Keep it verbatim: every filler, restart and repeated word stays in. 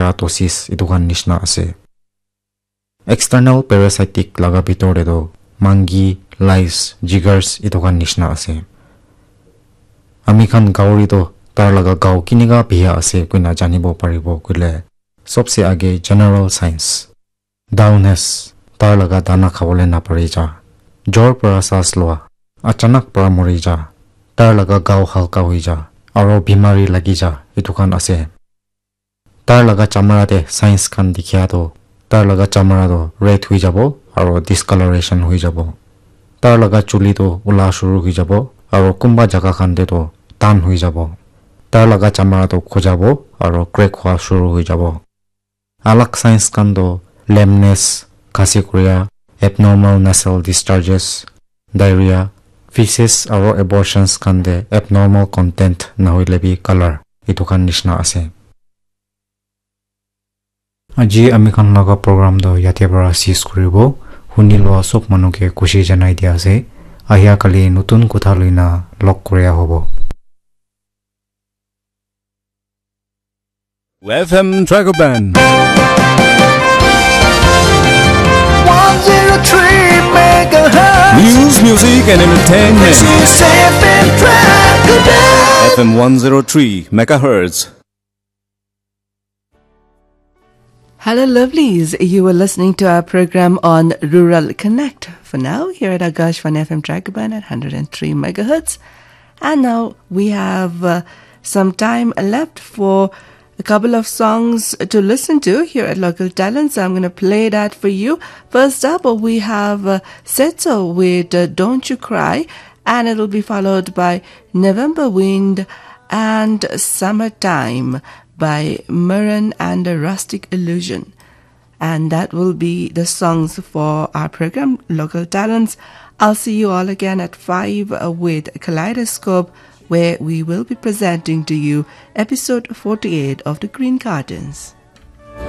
keratosis etu khan nishina ase. External parasitic laga bitor te toh mangi, lice, jigars etu khan nishina ase. Ami khan gauri toh tar laga gao kinika biya ase koina janibo paribo koile sobse age general signs. Dullness, tar laga dana khabole napari ja. Jor para saas loa, achanak para mori ja, tar laga gao halka hoi ja, aro bimari lagi ja, etu khan ase. Tar laga chamara te signs khan dikhia toh, tar laga chamara toh red hoi jabo, aro discoloration hoi jabo. Tar laga chuli toh ula shuru hoi jabo, aro kunba jaga khan te toh tan hoi jabo. Tar laga chamara toh khojabo, aro crack hua shuru hoi jabo. Alag signs khan toh lameness, khasi kuria, abnormal nasal discharges, diarrhea, feces aro abortions khan te abnormal content nahoile bi color, etu khan nishina ase. Aji ami khan laga program toh yate para cease kuribo. Huni loa sob manu ke khushi janai dia ase. Ahia kali notun kotha loina log kuria hobo. F M Dragon Band. one zero three megahertz. News, music, and entertainment. This is F M Dragon Band. F M one zero three megahertz. Hello, lovelies. You were listening to our program on Rural Connect. For now, here at Akashvani F M Dragon Band at hundred and three megahertz. And now we have uh, some time left for a couple of songs to listen to here at Local Talent. So I'm going to play that for you. First up, we have uh, Setso with uh, Don't You Cry, and it'll be followed by November Wind and Summertime by Maran and the Rustic Illusion. And that will be the songs for our program, Local Talents. I'll see you all again at five with Kaleidoscope, where we will be presenting to you episode forty-eight of The Green Gardens.